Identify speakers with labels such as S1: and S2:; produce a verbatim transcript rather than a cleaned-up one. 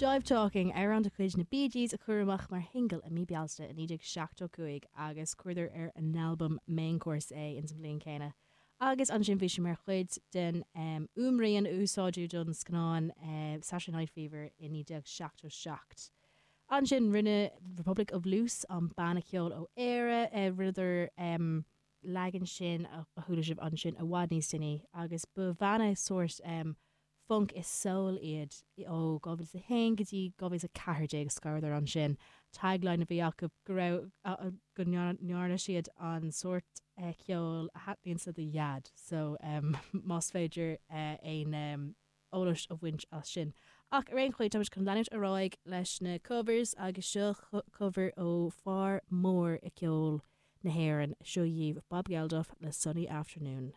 S1: Jive Talking amhrán de chuid na Bee Gees a cuireadh amach mar shingil i mí Bealtaine i naoi déag seachtó cúig agus chuireadar ar an albam Main Course é ins an bhliain céanna. Agus ansin bhí sé mar chuid den um, fhuaimrian a úsáideadh don scannán uh, Saturday Night Fever i naoi déag seachtó seacht. Ansin rinne Republic of Loose an banna ceoil ó Éire uh, rinneadar um, leagan sin a chuala sibh ansin i bhfad níos déanaí agus ba bhanna sórt um, funk is soul iad ó dhá mhíle a haon go dtí dhá mhíle a ceathair déag scaradar ansin. Tagline a bhí acu go raibh go ndearna siad an sórt eh, ceoil a thaitníonn le do dhaid, so um, más féidir uh, aon um, eolas a bhaint as sin. Ach ar aon chaoi táimid chun leanúint ar aghaidh leis na covers agus seo cover ó fear mór i ceol na hÉireann seo dhaoibh Bob Geldof le Sunny Afternoon.